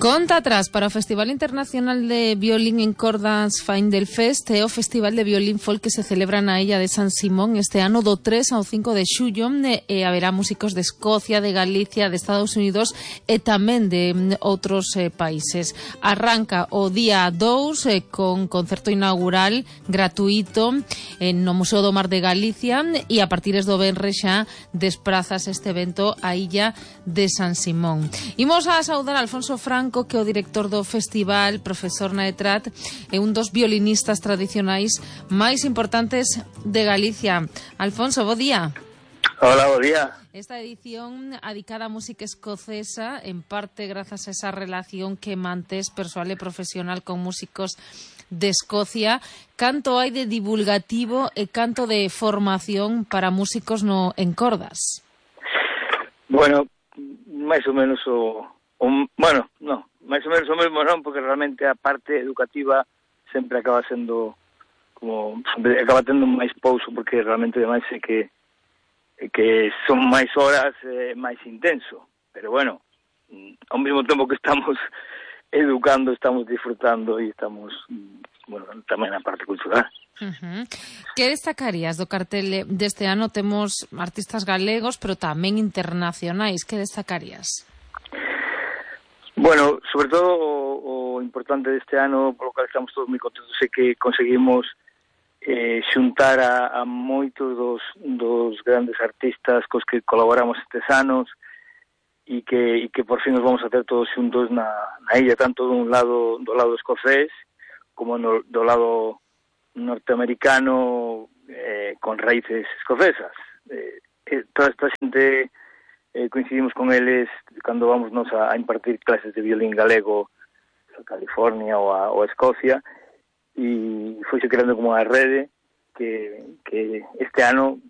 Conta atrás para o Festival Internacional de Violín en Cordas Faindelfest e o Festival de Violín Folk que se celebra na illa de San Simón este ano do 3 ao 5 de xullo e haberá músicos de Escocia, de Galicia, de Estados Unidos e tamén de outros países. Arranca o día 2 con concerto inaugural gratuito no Museo do Mar de Galicia e a partir do venres xa desprazas este evento á illa de San Simón. Imos a saudar a Alfonso Franco, que é o director do festival, profesor na ETRAT, é un dos violinistas tradicionais máis importantes de Galicia. Alfonso, bo día. Hola, bo día. Esta edición adicada á música escocesa, en parte grazas a esa relación que mantés persoal e profesional con músicos de Escocia. Canto hai de divulgativo e canto de formación para músicos en cordas? Bueno, máis ou menos máis ou menos o mesmo non, porque realmente a parte educativa sempre acaba sendo sempre acaba tendo máis pouso, porque realmente ademais é que son máis horas, máis intenso, pero bueno, ao mesmo tempo que estamos educando, estamos disfrutando e estamos, tamén na parte cultural. Que destacarías do cartel deste ano? Temos artistas galegos, pero tamén internacionais. Que destacarías? Bueno, sobre todo o importante deste ano, polo cual estamos todos moi contentos, é que conseguimos xuntar a moitos dos grandes artistas cos que colaboramos estes anos e que por fin nos vamos a ter todos xuntos na illa, tanto do lado escocés como do lado norteamericano con raíces escocesas. Toda esta xente coincidimos con eles cando vamos a impartir clases de violín galego a California ou a Escocia, e foise creando como a rede que este ano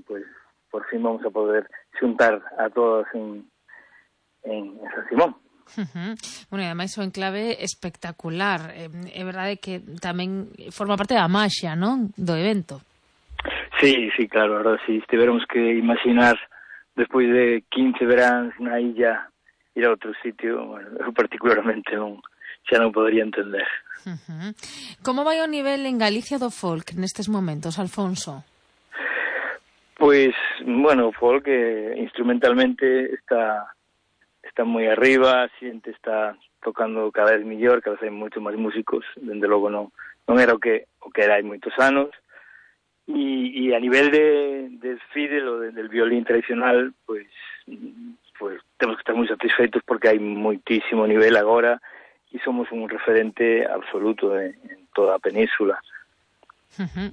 pues por fin vamos a poder xuntar a todos en San Simón. Bueno, e ademais o enclave espectacular. É verdade que tamén forma parte da maxia, non? Do evento. Sí, claro, a verdade, si tiveramos que imaginar despois de 15 veráns na illa ir a outro sitio, eu particularmente xa non podería entender. Como vai o nivel en Galicia do folk nestes momentos, Alfonso? Pois, o folk instrumentalmente está moi arriba, a xente está tocando cada vez mellor, cada vez hai moito máis músicos, dende logo non era o que era hai moitos anos. Y a nivel de fiddle o del violín tradicional, pues tenemos que estar muy satisfeitos porque hay muitísimo nivel agora y somos un referente absoluto en toda a península.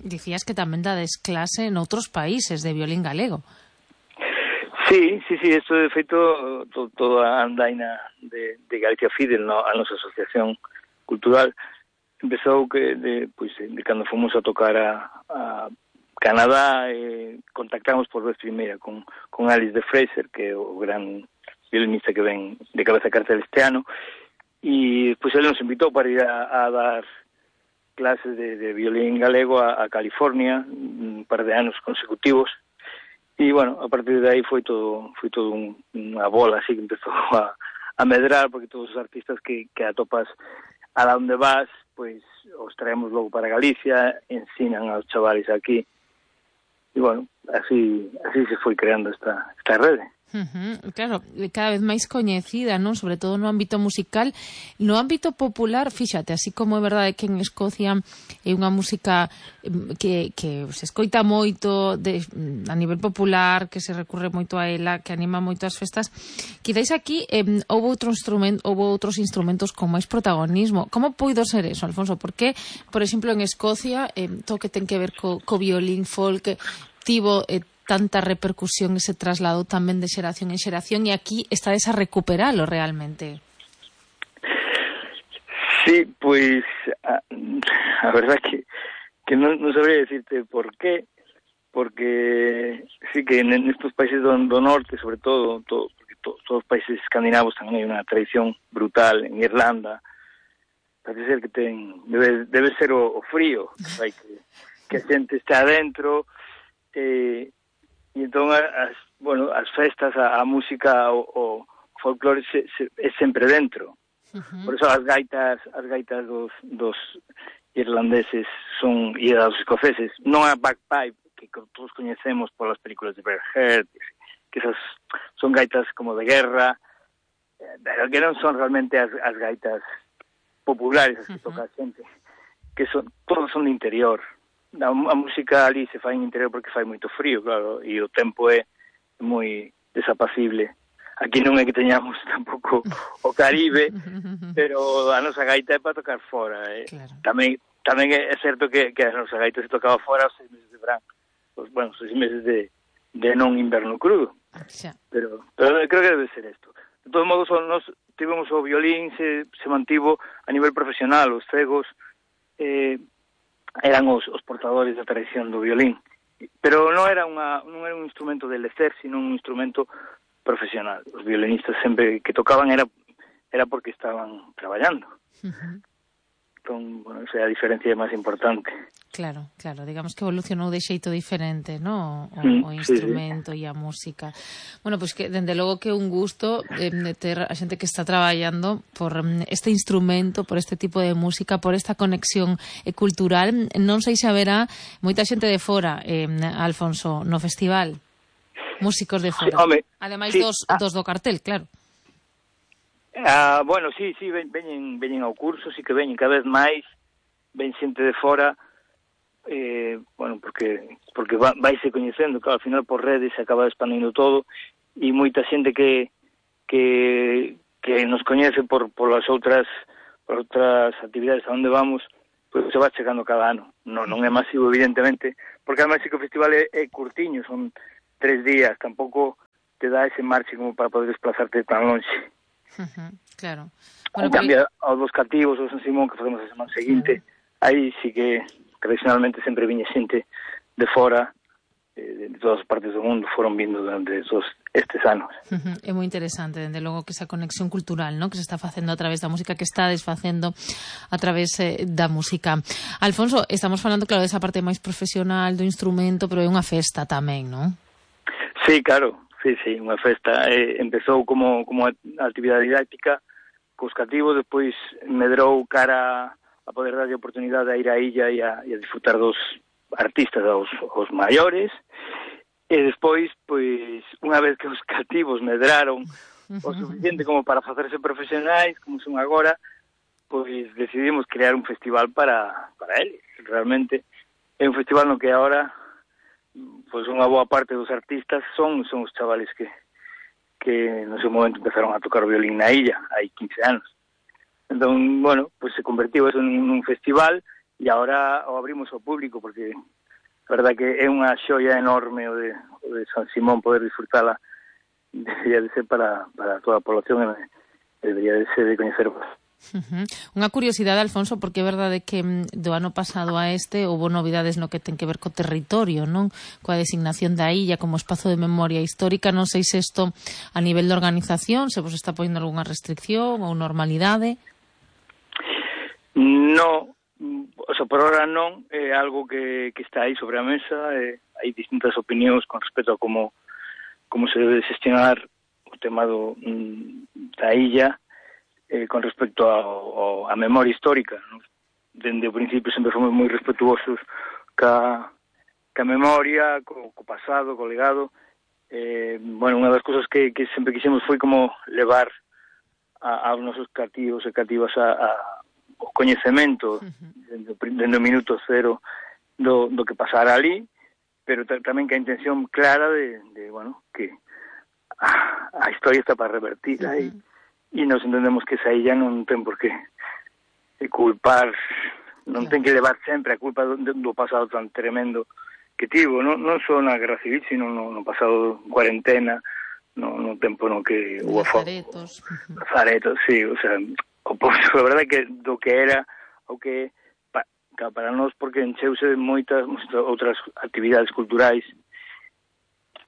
Dicías que tamén dades clase en outros países de violín galego. Sí, esto de feito toda a andaina de Galicia Fiddle, a nosa asociación cultural, empezou de cando fomos a tocar a Canadá, contactamos por vez primeira con Alice de Fraser, que é o gran violinista que ven de cabeza a cartel este ano, e pois ele nos invitou para ir a dar clases de violín galego a California un par de anos consecutivos, e a partir de aí foi todo unha bola así que empezou a medrar, porque todos os artistas que atopas a onde vas, pois os traemos logo para Galicia, ensinan aos chavales aquí, e así se foi creando esta rede. Claro, cada vez máis coñecida, non? Sobre todo no ámbito musical. No ámbito popular, fíxate, así como é verdade que en Escocia é unha música que se escoita moito a nivel popular, que se recurre moito a ela, que anima moito as festas, quizáis aquí houve outros instrumentos con máis protagonismo. Como puido ser eso, Alfonso? Porque, por exemplo, en Escocia todo que ten que ver co violín folk tivo tanta repercusión, ese traslado tamén de xeración en xeración, e aquí estades a recuperalo realmente. Sí, pois a verdad que non sabría decirte por qué, porque sí que en estos países do norte, sobre todo, porque todos os países escandinavos tamén hai unha tradición brutal, en Irlanda, parece ser que debe ser o frío, que a xente está adentro, e entón as festas, a música, o folclore é sempre dentro. Por eso as gaitas dos irlandeses son e dos escoceses, non a bagpipe que todos coñecemos polas películas de Bret Hart, que esas son gaitas como de guerra, pero que non son realmente as gaitas populares as que toca a xente, que todos son de interior. A música ali se fai en interior porque fai moito frío, claro, e o tempo é moi desapacible. Aquí non é que teñamos tampouco o Caribe, pero a nosa gaita é para tocar fora. Claro. Tamén é certo que a nosa gaita se tocaba fora os 6 meses de verán, os 6 meses de non inverno crudo. Pero creo que debe ser isto. De todos modos, nos tivemos o violín, se mantivo a nivel profesional, os cegos eran os portadores da tradición do violín, pero non era un instrumento de lecer, sino un instrumento profesional. Os violinistas sempre que tocaban era porque estaban traballando. Entón, bueno, esa é a diferencia máis importante. Claro, digamos que evolucionou de xeito diferente, ¿no? O instrumento e a música. Bueno, pois que, dende logo que é un gusto ter a xente que está traballando por este instrumento, por este tipo de música, por esta conexión cultural. Non sei se haberá moita xente de fora, Alfonso, no festival. Músicos de fora. Ademais dos do cartel, claro. Bueno, sí, veñen ao curso, sí que veñen cada vez máis, ven xente de fora, bueno, porque vaise coñecendo, claro, ao final por redes se acaba expandindo todo, e moita xente que nos coñece por as outras actividades a onde vamos, pois se va chegando cada ano. Non é masivo, evidentemente, porque además sí que o festival é curtiño, son 3 días, tampouco te dá ese marche como para poder desplazarte tan longe. Claro. Bueno, en cambio, aos dos cativos, o San Simón, que facemos a semana seguinte, aí sí que tradicionalmente sempre viña xente de fora, de todas as partes do mundo, foron vindo durante estes anos. É moi interesante, dende logo, que esa conexión cultural, ¿no?, que se está facendo a través da música, que está desfacendo a través da música. Alfonso, estamos falando, claro, desa parte máis profesional do instrumento, pero é unha festa tamén, non? Sí, claro. Sí, unha festa. Empezou como actividade didáctica cos cativos, despois medrou cara a poder darlle oportunidade a ir á illa e a disfrutar dos artistas, os maiores, e despois, pois, unha vez que os cativos medraron o suficiente como para facerse profesionais, como son agora, pois decidimos crear un festival para eles. Realmente é un festival no que agora pois unha boa parte dos artistas son os chavales que no seu momento empezaron a tocar o violín na illa, hai 15 anos. Entón, bueno, pois se convertiu eso en un festival e agora o abrimos ao público, porque a verdad que é unha xoia enorme o de San Simón, poder disfrutala, debería de ser para toda a población, debería de ser de coñecer. Unha curiosidade, Alfonso, porque é verdade que do ano pasado a este houve novidades no que ten que ver co territorio, non? Coa designación da illa como espazo de memoria histórica. Non sei se isto a nivel de organización se vos está poñendo algunha restricción ou normalidade. No, o sea, por ahora non, é algo que está aí sobre a mesa, hai distintas opinións con respecto a como se debe xestionar o tema da illa, con respecto a memoria histórica, ¿no? Dende o principio sempre fomos moi respetuosos ca memoria, co pasado, co legado. Bueno, unha das cousas que sempre quixemos foi como levar aos nosos cativos e cativas o coñecemento dende o minuto cero do que pasara ali, pero tamén que a intención clara de bueno, que a historia está para revertir aí. E nos entendemos que esa illa non ten por que culpar, non ten que levar sempre a culpa do pasado tan tremendo que tivo, non só na Guerra Civil, sino no pasado cuarentena, no tempo no que hubo Lazaretos, sí, o sea, a verdade que do que era o que para nós, porque encheuse de moitas outras actividades culturais,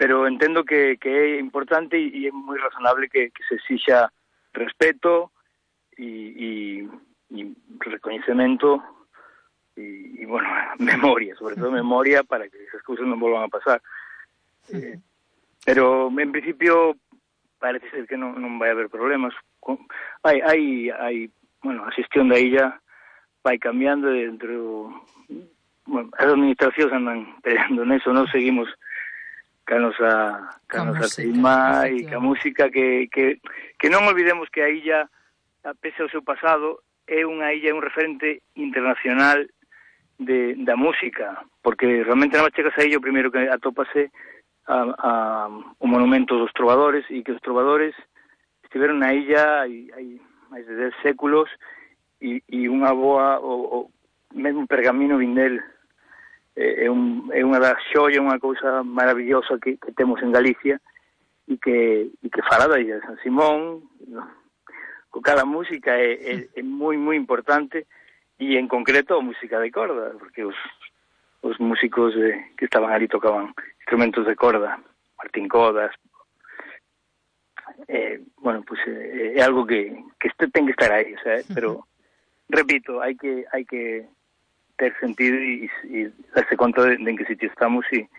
pero entendo que é importante e é moi razonable que se exixa respeto e recoñecemento e bueno, memoria, sobre todo memoria, para que esas cousas non volvan a pasar. Pero en principio parece ser que non vai haber problemas. Bueno, a xestión da illa vai cambiando dentro. Bueno, as administracións andan peleando neso, non seguimos ca nosa teima e ca música que non olvidemos que a illa, pese ao seu pasado, é unha illa, un referente internacional da música, porque realmente na chegas a illa o primeiro que atópase o monumento dos trovadores, e que os trovadores estiveron na illa hai máis de 10 séculos e unha boa, o mesmo pergamino vindel é unha das xoia, unha cousa maravillosa que temos en Galicia e que fala da illa de San Simón. Co cada música é moi moi importante, e en concreto a música de corda, porque os músicos que estaban ali tocaban instrumentos de corda, Martín Codas. Bueno, pues é algo que ten que estar aí, ¿sabes? Pero repito, hai que ter sentido e darse conta de en que sitio estamos e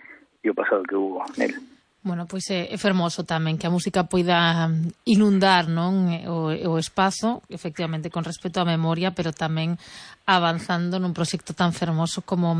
o pasado que hubo nel. Bueno, pois é fermoso tamén que a música poida inundar, non, o espazo, efectivamente con respecto á memoria, pero tamén avanzando nun proxecto tan fermoso como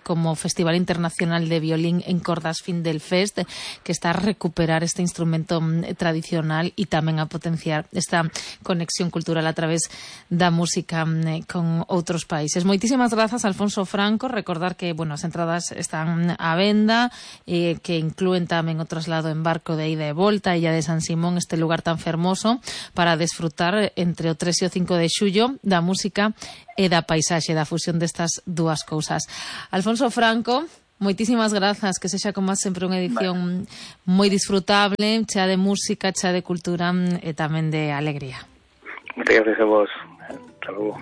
como Festival Internacional de Violín en Cordas Findelfest, que está a recuperar este instrumento tradicional e tamén a potenciar esta conexión cultural a través da música con outros países. Moitísimas grazas, Alfonso Franco. Recordar que, bueno, as entradas están á venda, que inclúen tamén o traslado en barco de ida e volta a Illa de San Simón, este lugar tan fermoso para desfrutar entre o 3 e o 5 de xullo da música e da paisaxe, da fusión destas dúas cousas. Alfonso Franco, moitísimas grazas, que sexa como sempre unha edición moi disfrutable, chea de música, chea de cultura e tamén de alegría. Moitas gracias a vos. Hasta logo.